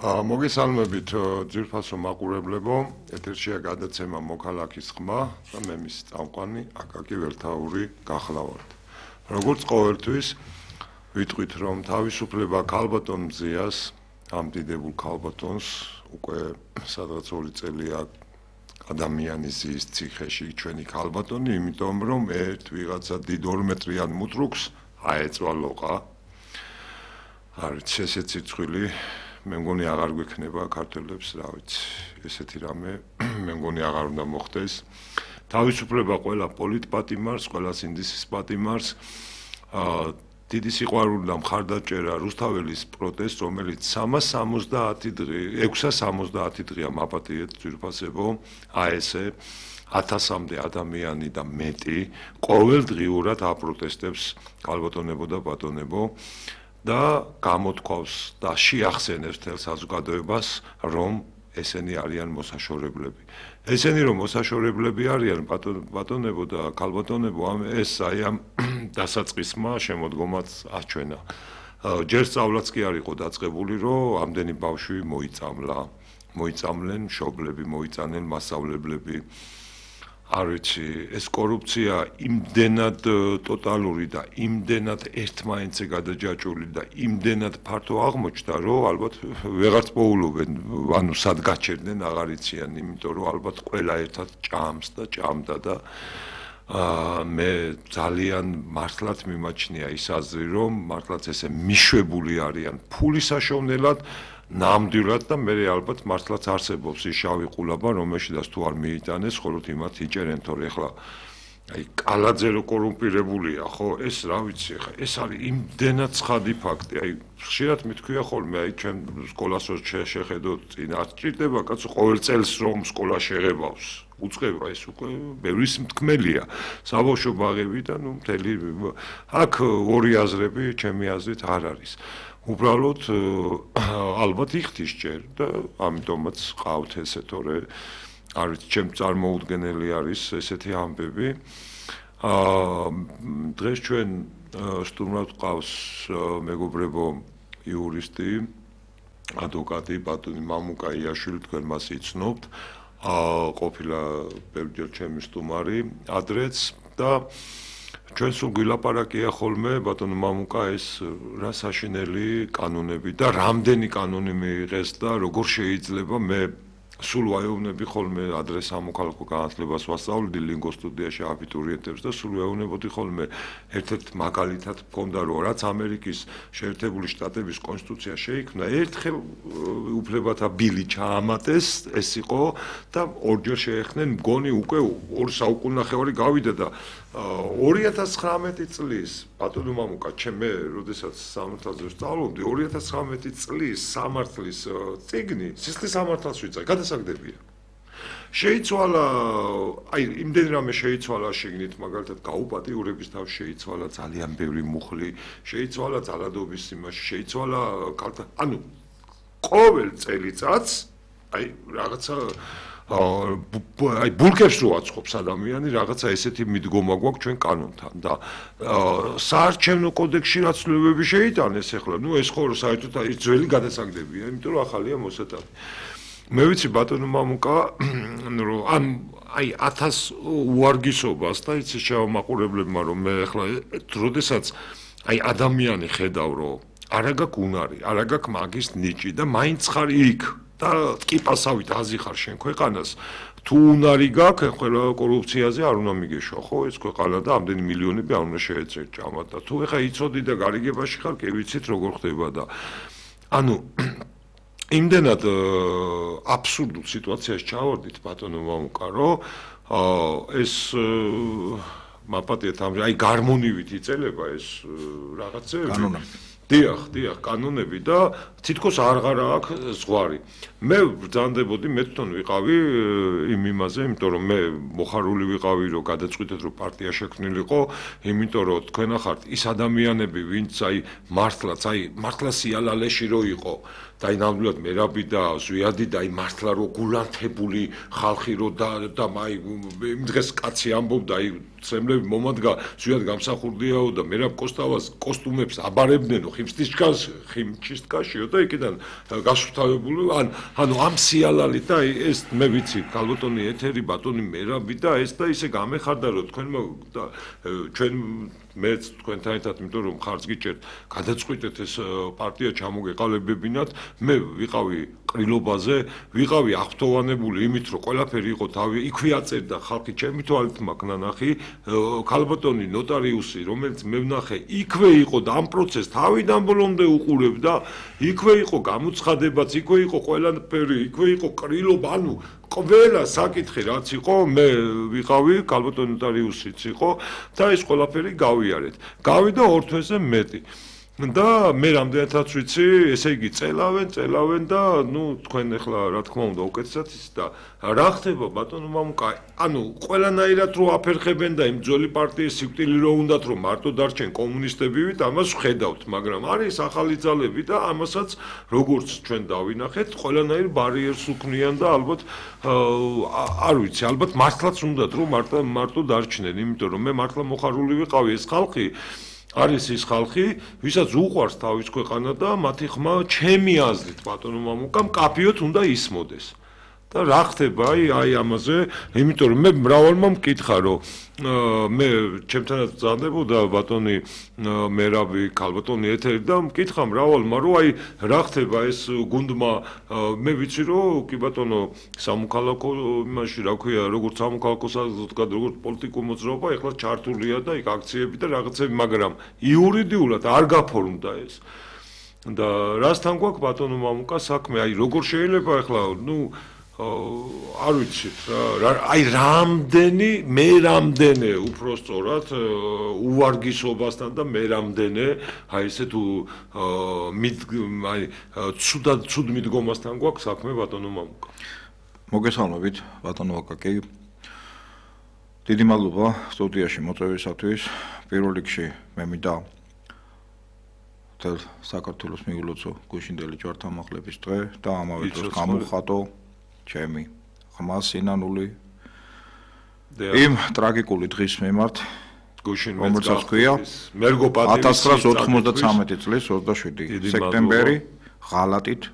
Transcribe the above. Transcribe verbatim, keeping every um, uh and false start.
მოგესალმებით ძვირფასო მაყურებლებო, ეთერშია გადაცემა მოქალაქის ხმა და მე მის წამყვანი აკაკი ველთაური გახლავართ. როგორც ყოველთვის ვიტყვით, რომ თავისუფლება ქალბატონ მზიას, ამ დიდებულ ქალბატონს უკვე სადღაც ორი წელია ადამიანის ზის ციხეში ჩვენი ქალბატონი, იმიტომ რომ ერთ ვიღაცა დიდ ორმეტრიან მუტრუქს აეწვა ლოყა. არის ესეც სიცხვილი მე მგონი აღარ გვექნება ქართველებს, რა ვიცი, ესეთი რამე მე მგონი აღარ უნდა მოხდეს. თავისუფლება ყველა პოლიტპატიმარს, ყველა სინდისის პატიმარს, აა დიდი სიყვარული და მხარდაჭერა რუსთაველის პროტესტს, რომელიც სამას სამოცდაათი დღე, ექვსას სამოცდაათი დღეა მაპატიეთ ძვირფასებო, აესე ათასამდე ადამიანი და მეტი ყოველდღიურად აპროტესტებს ქალბატონებო და ბატონებო. და გამოთქვავს და შეახსენებს თელ საზოგადოებას, რომ ესენი არიან მოსაშორებლები. ესენი რომ მოსაშორებლები არიან ბატონებო და ქალბატონებო, ეს აი ამ დასაწყისმა შემოდგომაც აჩვენა. ჯერ სწავლაც კი არ იყო დაწყებული, რომ ამდენი ბავშვი მოიწამლა. მოიწამლენ მშობლები, მოიწანენ მასწავლებლები. არ ვიცი, ეს კორუფცია იმდენად ტოტალური და იმდენად ერთმანეთზე გადაჯაჭვული და იმდენად ფართო აღმოჩნდა, რომ ალბათ ვეღარც მოულობენ, ანუ სად გაჩერდნენ აღარ იციან, იმიტომ რომ ალბათ ყველა ერთად ჭამს და ჭამდა და აა მე ძალიან მართლაც მიმაჩნია ის აზრი, რომ მართლაც ესე მიშვებული არიან ფულის საშოვნელად ნამდვილად და მე ალბათ მართლაც არსებობს ის შავი ყულაბა, რომელშიც თუ არ მიიტანეს, ხოლოდ იმათ იჭერენ, თორე ახლა აი კალაძე რო კორუმპირებულია, ხო, ეს რა ვიცი, ხა ეს არის იმდენად ცხადი ფაქტი, აი ხშირად მithქვია ხოლმე, აი ჩვენ სკოლას რო შეხედოთ, წინ არ ჭირდება კაცო ყოველ წელს რომ სკოლა შეღებავს. უწყება ეს უკვე ბევრის მთქმელია. საბავშვო ბაღები და ნუ მთელი აქ ორი აზრები, ჩემი აზრით არ არის. უბრალოდ ალბათ იხდის ჯერ და ამიტომაც ყავთ ესე, თორე არ ვიცი, ჩემ წარმოუდგენელი არის ესეთი ამბები. აა დღეს ჩვენ სტუმრად ყავს მეგობრებო იურისტი, ადვოკატი ბატონი მამუკა იაშვილი, თქვენ მას იცნობთ. აა ყოფილა ბევრჯერ ჩემი სტუმარი ადრეც და ჩვენ სულ გვილაპარაკია ხოლმე ბატონო მამუკა ეს რა საშინელი კანონები და რამდენი კანონი მიიღეს და როგორ შეიძლება მე სულ ვაეუბნები ხოლმე ადრე სამოქალაქო განათლებას ვასწავლდი ლინგო სტუდიაში აბიტურიენტებს და სულ ვეუბნებოდი ხოლმე ერთ-ერთ მაგალითად მქონდა რომ რაც ამერიკის შეერთებული შტატების კონსტიტუცია შეიქმნა ერთხელ უფლებათა ბილი ჩაამატეს ეს იყო და ორჯერ შეეხნენ მგონი უკვე ორ საუკუნახევარი გავიდა და ორი ათას ცხრამეტი წლის ბატონო მამუკა ჩემ მე როდესაც სამართალზე ვსწავლობდი ორი ათას ცხრამეტი წლის სამართლის წიგნი სისხლის სამართალს ვიწაი გადასაგდებია შეიცვალა აი იმდენ რამე შეიცვალა შეგნით მაგალითად გაუპატიურების თავში შეიცვალა ძალიან ბევრი მუხლი შეიცვალა ძალადობის იმაში შეიცვალა ანუ ყოველ წელიწადს აი რაღაცა აი ბულკებს რო აწყობს ადამიანი რაღაცა ესეთი მიდგომა გვაქვს ჩვენ კანონთან და საარჩევნო კოდექსში რაც ცვლილებები შეიტანეს ახლა ნუ ეს ხო საერთოდ აი ძველი გადასაგდებია იმიტომ რომ ახალია მოსატანი მე ვიცი ბატონო მამუკა რომ ან აი ათას უარგისობას და იცი შევამაყურებლებმა რომ მე ახლა როდესაც აი ადამიანი ხედავ რომ არა გაქვს უნარი არა გაქვს მაგის ნიჭი და მაინც ხარ იქ და ტკიპასავით აზიხარ შენ ქვეყანას თუ უნარი გაქვს ყველა კორუფციაზე არ უნდა მიგეშვა ხო ეს ქვეყანა და ამდენი მილიონები არ უნდა შეეწერ ჭამად და თუ ეხა იცოდი და გარიგებაში ხარ კი ვიცით როგორ ხდება და ანუ იმდენად აბსურდულ სიტუაციაში ჩავარდით ბატონო მამუკა რომ ეს მაპატიეთ ამ აი გარმონივით იწელება ეს რაღაცები კანონები დიახ, დიახ, კანონები და თითქოს აღარა აქვს ზღვარი. მე ბრძანდებოდი, მე თვითონ ვიყავი იმ იმაზე, იმიტომ რომ მე მოხარული ვიყავი, რომ გადაწყვიტეთ, რომ პარტია შექმნილიყო, იმიტომ რომ თქვენ ახართ ის ადამიანები, ვინც აი მართლაც, აი მართლა სიალალეში რო იყო და აი ნამდვილად მერაბი და ზვიადი და აი მართლა რო გულანთებული ხალხი რო და და აი იმ დღეს კაცი ამბობდა, აი წემლები მომადგა ზვიად გამსახურდიაო და მერაბ კოსტავას კოსტუმებს აბარებდნენ ხიმშტიშკას ხიმჩისტკაშიო და იქიდან გასუფთავებული ან ანუ ამ სიალალით და ეს მე ვიცი ქალბატონი ეთერი ბატონი მერაბი და ეს და ისე გამეხარდა რომ თქვენ და ჩვენ მეც თქვენთან ერთად იმიტომ რომ ხარც გიჭერთ გადაწყვიტეთ ეს პარტია ჩამოგეყალებებინათ მე ვიყავი ყრილობაზე ვიყავი აღფრთოვანებული იმით რომ ყველაფერი იყო თავი იქვე აწერდა ხალხი ჩემი თვალით მაქვს ნანახი ქალბატონი ნოტარიუსი რომელიც მე ვნახე იქვე იყო და ამ პროცესს თავიდან ბოლომდე უყურებდა იქვე იყო გამოცხადებაც იქვე იყო ყველაფერი იქვე იყო ყრილობა ანუ ყველა საკითხი რაც იყო მე ვიყავი ქალბატონი ნოტარიუსიც იყო და ეს ყველაფერი გავიარეთ გავიდა ორ თვეზე მეტი და მე რამდენადაც ვიცი ესე იგი წელავენ წელავენ და ნუ თქვენ ახლა რა თქმა უნდა უკეთესად ის და რა ხდება ბატონო მამუკა ანუ ყველანაირად რო აფერხებენ და იმ ძველი პარტიის სიკვდილი რო უნდათ რომ მარტო დარჩენ კომუნისტებივით ამას ვხედავთ მაგრამ არის ახალი ძალები და ამასაც როგორც ჩვენ დავინახეთ ყველანაირ ბარიერს უქმნიან და ალბათ არ ვიცი ალბათ მართლაც უნდათ რომ მარტო მარტო დარჩნენ იმიტომ რომ მე მართლა მოხარული ვიყავი ეს ხალხი არის ის ხალხი, ვისაც უყვარს თავის ქვეყანა და მათი ხმა ჩემი აზრით ბატონო მამუკამ კაფიოთ უნდა ისმოდეს. და რა ხდება აი აი ამაზე, იმიტომ რომ მე მრავალმა მკითხა რომ მე ჩემთანაც ბრძანდებოდა ბატონი მერაბი ქალბატონი ეთერი და მკითხა მრავალმა რომ აი რა ხდება ეს გუნდმა მე ვიცი რომ კი ბატონო სამოქალაქო იმაში რა ქვია როგორც სამოქალაქო საზოგადოება როგორც პოლიტიკურ მოძრაობა ეხლა ჩართულია და იქ აქციები და რაღაცები მაგრამ იურიდიულად არ გაფორმდა ეს და რასთან გვაქვს ბატონო მამუკა საქმე აი როგორ შეიძლება ეხლა ნუ არ ვიცი აი რამდენი მე რამდენი უფრო სწორად უვარგისობასთან და მე რამდენი აი ესე თუ აი ცუდად ცუდ მიდგომასთან გვაქვს საქმე ბატონო მამუკა მოგესალმებით ბატონო აკაკი დიდი მადლობა სტუდიაში მოწვევისათვის პირველ რიგში მე მინდა თელ საქართველოს მიულოცო გუშინდელი ჯვართამაღლების დღე და ამავე დროს გამოვხატო ჩემი ხმა სინანული იმ ტრაგიკული დღის მიმართ გუშინ რომელსაც ქვია მერგო პატივი ათას ცხრაასი ოთხმოცდათრამეტი წლის ოცდაშვიდი სექტემბერი ღალატით